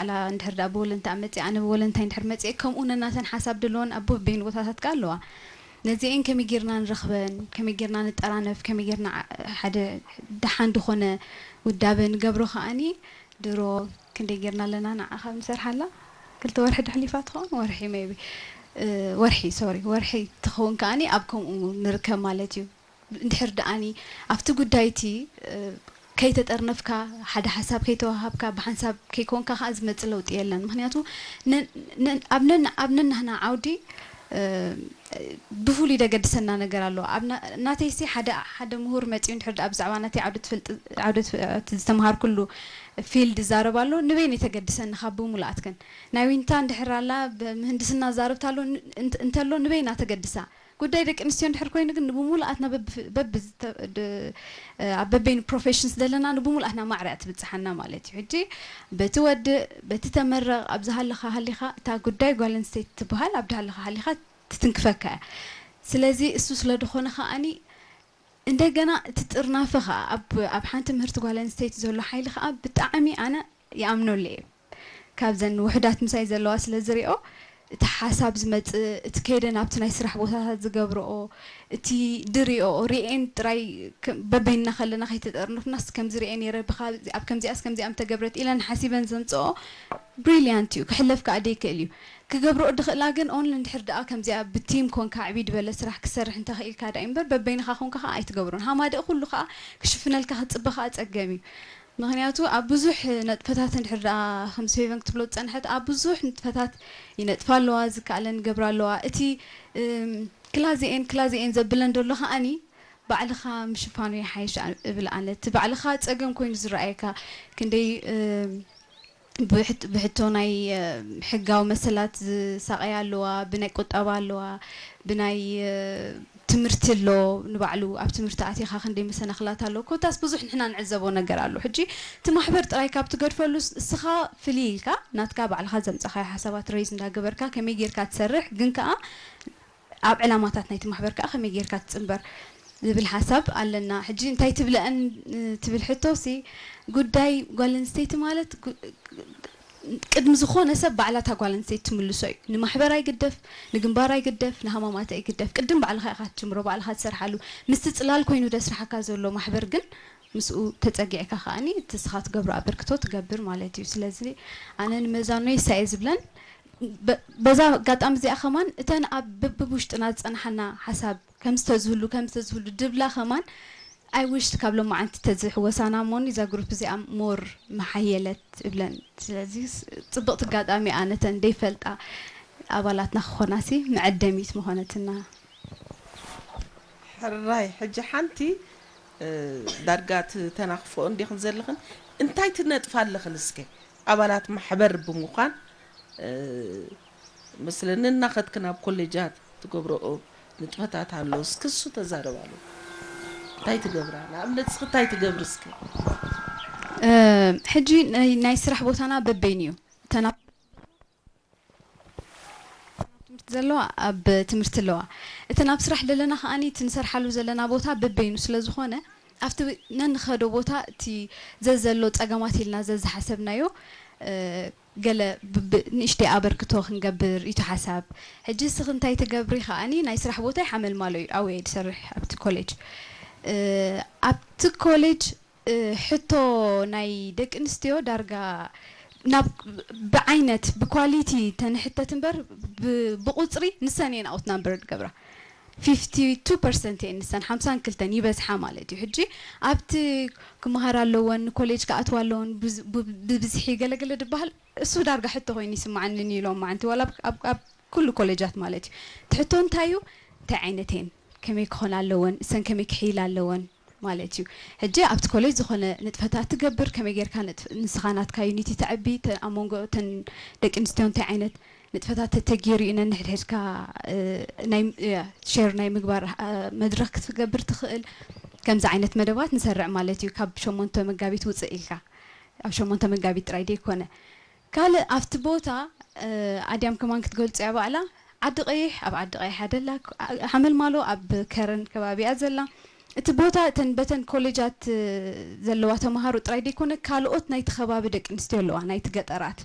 ባዕላ እንድሕር ደኣ ብወለንታ መፅእ ኣነ ብወለንታይ እንድሕር መፅእ ከምኡ ነናተን ሓሳብ ደለወን ኣብ በበይኑ ቦታታት ከ ኣለዋ። ነዚአን ከመይ ጌርና ንረኽበን፣ ከመይ ጌርና ንጠራነፍ፣ ከመይ ጌርና ሓደ ደሓን ዝኾነ ውዳበ ንገብሮ ከኣኒ ድሮ ክንደይ ጌርና ኣለና ንዓ ካብ ንሰርሓላ ክልተ ወርሒ ድሕሊፋ ትኸውን ወርሒ maybe ወርሒ sorry ወርሒ ትኸውን ከኣኒ ኣብ ከምኡ ንርከብ ማለት እዩ። እንድሕር ደኣኒ ኣብቲ ጉዳይ እቲ ከይተጠርነፍካ ሓደ ሓሳብ ከይተዋሃብካ ብሓንሳብ ከይኮንካ ከዓ ዝመፅእ ለውጢ የለን። ምክንያቱ ኣብ ነናህና ዓውዲ ብፍሉይ ደገድሰና ነገር ኣለዎ። ናተይሲ ሓደ ሓደ ምሁር መፅኡ እንድሕር ደኣ ብዛዕባ ናተይ ዓውዲ ትፈልጥ ዓውዲ ዝተምሃርኩሉ field ይዛረብ ኣሎ ንበይነይ ተገድሰኒ ካብ ብሙሉኣት ግን ናይ ዊንታ እንድሕር ኣላ ብምህንድስና ዛረብታ ኣሎ እንተሎ ንበይና ተገድሳ ጉዳይ ደቂ ኣንስትዮ እንድሕር ኮይኑ ግን ንብሙሉኣትና በቢ ኣብ በበይኑ professions ዘለና ንብሙሉኣትና ማዕረ እያ ትብፅሓና ማለት እዩ። ሕጂ በቲ ወድእ በቲ ተመረቕ ኣብ ዝሃለኻ ሃሊኻ እታ ጉዳይ ጓል ኣንስተይቲ ትበሃል ኣብ ዝሃለኻ ሃሊኻ ትትንክፈካ እያ። ስለዚ እሱ ስለ ዝኾነ ከኣኒ እንደገና እቲ ጥርናፈ ከዓ ኣብ ኣብ ሓንቲ ምህርቲ ጓል ኣንስተይቲ ዘሎ ሓይሊ ከዓ ብጣዕሚ ኣነ ይኣምነሉ እየ። ካብዘን ውሕዳት ምሳይ ዘለዋ ስለ ዝሪኦ እቲ ሓሳብ ዝመፅእ እቲ ከይደ ናብቲ ናይ ስራሕ ቦታታት ዝገብረኦ እቲ ድሪኦ ሪኤን ጥራይ በበይንና ከለና ከይተጠርነፍናስ ከምዚ ሪኤ ነይረ ብካ ኣብ ከምዚኣስ ከምዚኣ ምተገብረት ኢለን ሓሲበን ዘምፅኦ brilliant እዩ ክሕለፍ ከዓ ደይክእል እዩ። ክገብርኦ ድኽእላ ግን only እንድሕር ደኣ ከምዚኣ ብቲም ኮንካ ዕብይ ዝበለ ስራሕ ክሰርሕ እንተኽኢልካ ደኣ እምበር በበይንኻ ኮንካ ከዓ ኣይትገብሮን። ሃማደእ ኩሉ ከዓ ክሽፍነልካ ክትፅበ ከዓ ፀገም እዩ። ምኽንያቱ ኣብ ብዙሕ ነጥፈታት እንድሕር ደኣ ከም ሴቨን ክትብሎ ዝፀንሐት ኣብ ብዙሕ ንጥፈታት ይነጥፋ ኣለዋ፣ ዝከኣለን ይገብራ ኣለዋ። እቲ ክላዚኤን ክላዚኤን ዘብለን ደሎ ከዓኒ ባዕልኻ ምሽፋኑ ይሓይሽ እብል ኣነ። እቲ ባዕልኻ ፀገም ኮይኑ ዝረኣየካ ክንደይ ብሕቶ ናይ ሕጋዊ መሰላት ዝሳቐያ ኣለዋ፣ ብናይ ቁጠባ ኣለዋ፣ ብናይ ትምህርቲ ኣሎ ንባዕሉ ኣብ ትምህርቲ ኣቲኻ ክንደይ መሰናኽላት ኣሎ። ኮታስ ብዙሕ ንሕና ንዕዘቦ ነገር ኣሎ። ሕጂ እቲ ማሕበር ጥራይ ካብ ትገድፈሉ እስኻ ፍልይ ኢልካ ናትካ ባዕልኻ ዘምፀኻዮ ሓሳባት raise እንዳገበርካ ከመይ ጌርካ ትሰርሕ ግን ከኣ ኣብ ዕላማታት ናይቲ ማሕበር ከኣ ከመይ ጌርካ ትጽንበር ዝብል ሓሳብ ኣለና። ሕጂ እንታይ ትብለአን ትብል ሕቶ ሲ ጉዳይ ጓል ኣንስተይቲ ማለት ቅድሚ ዝኾነ ሰብ ባዕላ እታ ጓል ኣንስተይቲ ትምልሶ እዩ። ንማሕበር ኣይግደፍ፣ ንግንባር ኣይግደፍ፣ ንሃማማት ኣይግደፍ። ቅድም ባዕልኻ ኢኻ ትጅምሮ፣ ባዕልኻ ትሰርሓሉ። ምስቲ ጽላል ኮይኑ ደስርሓካ ዘሎ ማሕበር ግን ምስኡ ተጸጊዕካ ከኣኒ እቲ ንስኻ ትገብሮ ኣበርክቶ ትገብር ማለት እዩ። ስለዚ ኣነ ንመዛኖይ እሳ እየ ዝብለን። በዛ ኣጋጣሚ እዚኣ ከማን እተን ኣብ በብብ ውሽጥና ዝጸንሓና ሓሳብ ከም ዝተዝህሉ ከም ዝተዝህሉ ድብላ ከማን I wish ካብ ሎማዓንቲ ተዝሕወሳና እሞኒ እዛ ግሩፕ እዚኣ more ምሓየለት እብለን። ስለዚ ጽብቕቲ ኣጋጣሚ እያ ነተን ደይፈልጣ ኣባላትና ክኾናሲ መዐደሚት ምኾነትና። ሕራይ ሕጂ ሓንቲ ዳርጋ ትተናኽፍኦ እንዲኽን ዘለኽን እንታይ ትነጥፋ ኣለኽን እስከ ኣባላት ማሕበር ብምዃን መስለኒ እናኸድክን ኣብ ኮሌጃት ትገብረኦ ንጥፈታት ኣሎ እስኪ እሱ ተዛረባሉ እንታይ ትገብራ ንኣብነት እስኪ እንታይ ትገብሪ እስኪ ሕጂ ናይ ስራሕ ቦታና በበይን እዩ እተና ትምህርቲ ዘለዋ ኣብ ትምህርቲ ኣለዋ። እቲ ናብ ስራሕ ደለና ከኣኒ እቲ ንሰርሓሉ ዘለና ቦታ በበይኑ ስለ ዝኾነ ኣብቲ ነንኸዶ ቦታ እቲ ዘዘሎ ጸገማት ኢልና ዘዝሓሰብናዮ ገለ ንእሽተይ ኣበርክቶ ክንገብር እዩ ሓሳብ። ሕጂ እስኺ እንታይ ትገብሪ ከኣኒ ናይ ስራሕ ቦታይ ሓመልማሎ እዩ ኣበየ ዝሰርሕ ኣብቲ ኮሌጅ ኣብቲ ኮሌጅ ሕቶ ናይ ደቂ ኣንስትዮ ዳርጋ ናብ ብዓይነት ብኳሊቲ ተንሕተት እምበር ብቁፅሪ ንሰን እየን ኣውት ናምበር ዝገብራ fifty two percent እየን ንሰን ሓምሳን ክልተን ይበዝሓ ማለት እዩ ሕጂ ኣብቲ ክመሃር ኣለወን ኮሌጅ ክኣትዋ ኣለወን ብብዝሒ ገለገለ ዝበሃል እሱ ዳርጋ ሕቶ ኮይኑ ይስማዓኒ ንይሎም ማዓንቲ ዋላ ኣብ ኩሉ ኮሌጃት ማለት እዩ ትሕቶ እንታይ እዩ እንታይ ዓይነት እየን ከመይ ክኾና ኣለወን እሰን ከመይ ክሕይላ ኣለወን ማለት እዩ። ሕጂ ኣብቲ ኮሌጅ ዝኾነ ንጥፈታት ትገብር፣ ከመይ ጌርካ ንስኻ ናትካ ዩኒቲ ተዕቢ፣ ኣብ መንጎ እተን ደቂ ኣንስትዮ እንታይ ዓይነት ንጥፈታት ተተጌሩ እዩ ነንሕድሕድካ ሼር ናይ ምግባር መድረኽ ክትገብር ትኽእል። ከምዚ ዓይነት መደባት ንሰርዕ ማለት እዩ። ካብ ሸሞንተ መጋቢት ውፅእ ኢልካ ኣብ ሸሞንተ መጋቢት ጥራይ ደይኮነ ካልእ ኣብቲ ቦታ ኣድያም ከማን ክትገልጾ እያ ባዕላ ዓዲ ቀይሕ ኣብ ዓዲ ቀይሕ ኣደላ ሓመልማሎ ኣብ ከረን ከባቢ እያ ዘላ እቲ ቦታ እተን በተን ኮሌጃት ዘለዋ ተምሃሮ ጥራይ ደይኮነ ካልኦት ናይቲ ከባቢ ደቂ ኣንስትዮ ኣለዋ ናይቲ ገጠራት